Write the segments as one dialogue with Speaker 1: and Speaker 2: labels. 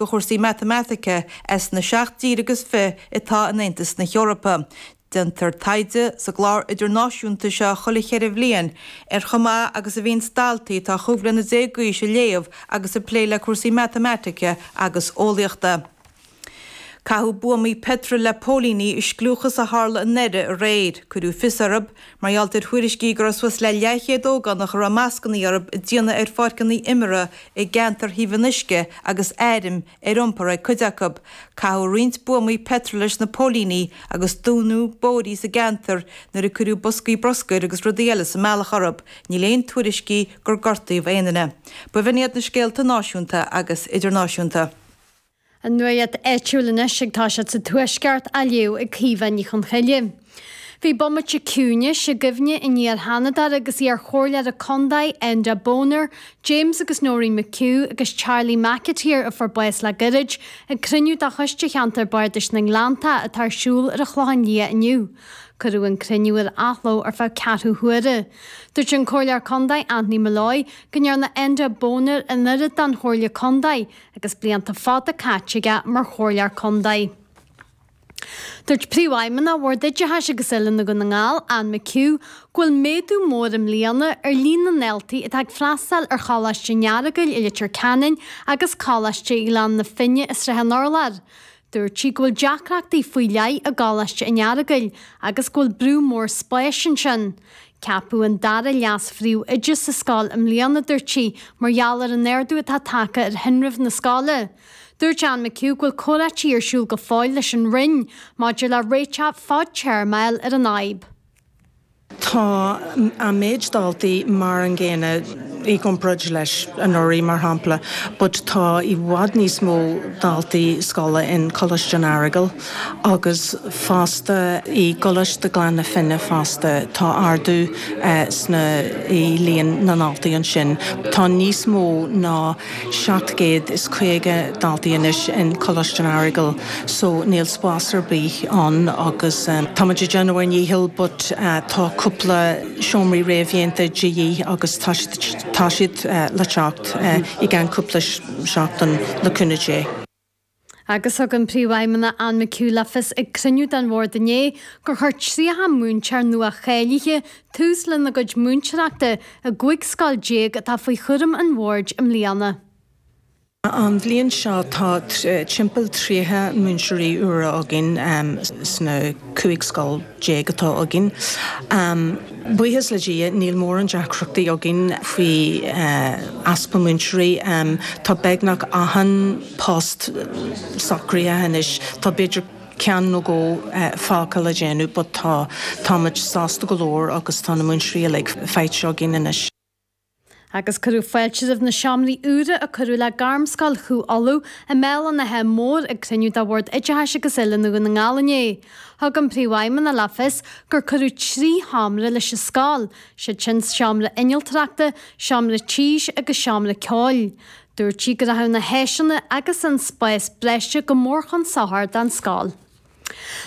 Speaker 1: Do chúrsaí matamaitice as na 17 dtír agus fi atá in Aontas na hEorpa. Déantar taighde sa gclár idirnáisiúnta seo chuile cheithre bhliain ar chomh maith agus a bhíonns daltaí atá 15 bliana d'aois ag léamh agus ag plé le cúrsaí matamaitice agus eolaíochta. Caitheadh buamaí peitril le póilíní i scliúchas a tharla i nDoire aréir. Cuireadh fios orthu mar gheall ar thuairiscí go raibh suas le leathchéad ógánach a raibh mascanna orthu ag déanamh ar pháirceanna imeartha i gceantar Thaobh an Uisce agus airm ar iompar ag cuid acu. Caitheadh roinnt buamaí peitril leis na póilíní agus dúnadh bóithrí sa gceantar nuair a cuireadh boscaí bruscair agus rudaí eile sa mbealach orthu. Níl aon tuairiscí gur gortaíodh aon duine. B'in iad na scéalta náisiúnta agus idirnáisiúnta.
Speaker 2: An nuacht áitiúil anois ag toiseacht sa Tuaisceart á léamh ag Caoimhe Ní Chonchoille. Bhí bomaite ciúnais i gcuimhne an iar-Sheanadóra agus iar-chomhairleora contae Enda Boner, James agus Noreen McHugh agus Charlie McAteer a fuair bás le gairid, ag cruinniú de Choiste Cheantar Bardais na nGleanntach atá ar siúl ar an Chlochán Liath inniu. Cuireadh an cruinniú ar athló ar feadh ceathrú huaire. Dúirt an Comhairleoir Contae Anthony Molloy go ndearna Enda Boner an oiread don Chomhairle Contae agus blianta fada caite aige mar chomhairleoir contae. Dúirt Príomhfheidhmeannach Bhord Oideachais agus Oiliúna Dhún na nGall, Anne McHugh, go bhfuil méadú mór i mbliana ar líon na ndaltaí atá ag freastal ar Choláiste an Earagail i Leitir Ceanainn agus Coláiste Ghleann na Finne i Srath an Urláir. Dúirt sí go bhfuil deacrachtaí faoi leith i gColáiste an Earagail agus go bhfuil brú mór spáis ansin. Ceapadh an dara leas-phríomhoide sa scoil i mbliana, dúirt sí, mar gheall ar an ardú atá tagtha ar thinreamh na scoile. Dúirt Anne McHugh go bhfuil comhráití ar siúl go fóill leis an Roinn maidir le réiteach fadtéarma a fháil ar an fhadhb.
Speaker 3: Tá an méid daltaí mar an gcéanna i gcomparáid leis anuraidh, mar shampla, but tá i bhfad níos mó daltaí scoile in Coláiste an Earagail. Agus fosta i gColáiste Ghleann na Finne fosta tá ardú sna i líon na ndaltaí ansin. Tá níos mó ná 750 daltaí anois in Coláiste an Earagail so níl spás ar bith ann agus táimid ag déanamh ár ndícheall but tá cúpla seomraí réamhdhéanta de dhíth agus tá tá siad le teacht i gceann cúpla seachtain le cúnamh Dé.
Speaker 2: Agus thug an Príomhfheidhmeannach Anne McHugh le fios ag cruinniú den bhord inné gur chuir 30 múinteoir nua-cháilithe tús lena gcuid múinteoireachta i gcúig scoil déag atá faoi chúram an bhoird i mbliana.
Speaker 3: An bhliain seo tá timpeall 30 múinteoirí úra againn sna 15 scoil atá againn. Buíochas le Dia níl mórán deacrachtaí againn faoi easpa múinteoirí. Tá beagnach achan post socraithe anois. Tá b'fhéidir ceann nó dhó fágtha le déanamh but tá, táimid sásta go leor agus tá na múinteoirí uilig faighte againn anois.
Speaker 2: Agus cuireadh fáilte roimh na seomraí úra a cuireadh le Gairmscoil Chú Uladh i mBéal an Átha Móir ag cruinniú de Bhord Oideachais agus Oiliúna Dhún na nGall inné. Thug an Príomhfheidhmeannach le fios gur cuireadh 3 sheomra leis an scoil, siad sin seomra innealtóireachta, seomra tís agus seomra ceoil. Dúirt sí go rachadh na háiseanna agus an spás breise go mór chun sochair don scoil.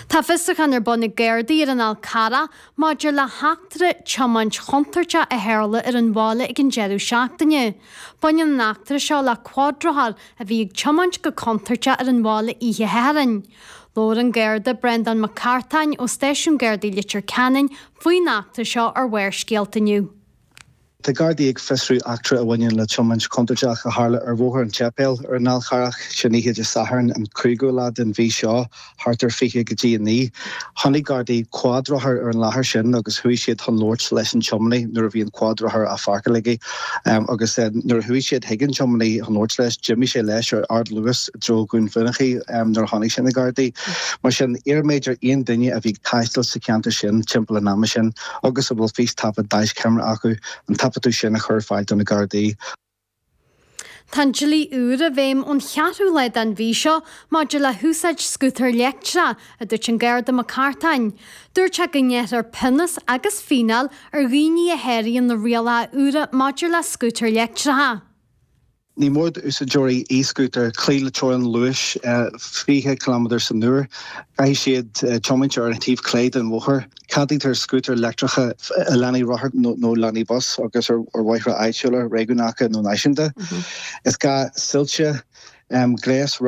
Speaker 2: Tá fiosrúchán ar bun ag Gardaí ar an Fhál Carrach maidir le heachtra tiomáint chontúirteach a tharla ar an bhaile ag an deireadh seachtaine. Baineann an eachtra seo le cuadrothar a bhí ag tiomáint go contúirteach ar an bhaile oíche Shathairn. Labhair an Garda Breandán Mac Cartáin ó Stáisiún Gardaí Leitir Ceanainn faoin eachtra seo ar Bharrscéalta inniu.
Speaker 4: Tá Gardaí ag fiosrú eachtra a bhaineann le tiomáint chontúirteach a tharla ar Bhóthar an tSéipéil ar an Fhál Charrach sin oíche Dé Sathairn an 5ú lá den mhí seo thart ar 20 go dtí 9. Chonaic Gardaí cuadrothar ar an láthair sin agus chuaigh siad chun labhairt leis an tiománaí nuair a bhí an cuadrothar á pháirceáil aige agus nuair a chuaigh siad chuig an tiománaí chun labhairt leis d'imigh sé leis ar ardluas i dtreo Dhún Fionnachaidh nuair a chonaic sé na Gardaí. Mar sin, iarraimid ar aon duine a bhí ag taisteal sa cheantar sin timpeall an ama sin agus a bhfuil fístaifead daischeamara acu, an taifeadadh sin a chur ar fáil do na Gardaí.
Speaker 2: Tá an dlí úr i bhfeidhm ón cheathrú lá den mhí seo maidir le húsáid scútar leictreach, a dúirt an Garda Mac Cartáin. Dúirt sé go ngearrfar pionós agus fíneáil ar dhaoine a sháraíonn na rialacha úra maidir le scútair leictreacha.
Speaker 4: Ní mór d'úsáideoirí e-scútair cloí le teorainn luais 20 ciliméadar san uair. Caithfidh siad tiomáint ar an taobh clé den bhóthar. Ceadaítear scútair leictreacha i lánaí rothar nó lánaí bus agus ar bhóithre áitiúla, réigiúnacha nó náisiúnta. Is gá soilse. Gléas.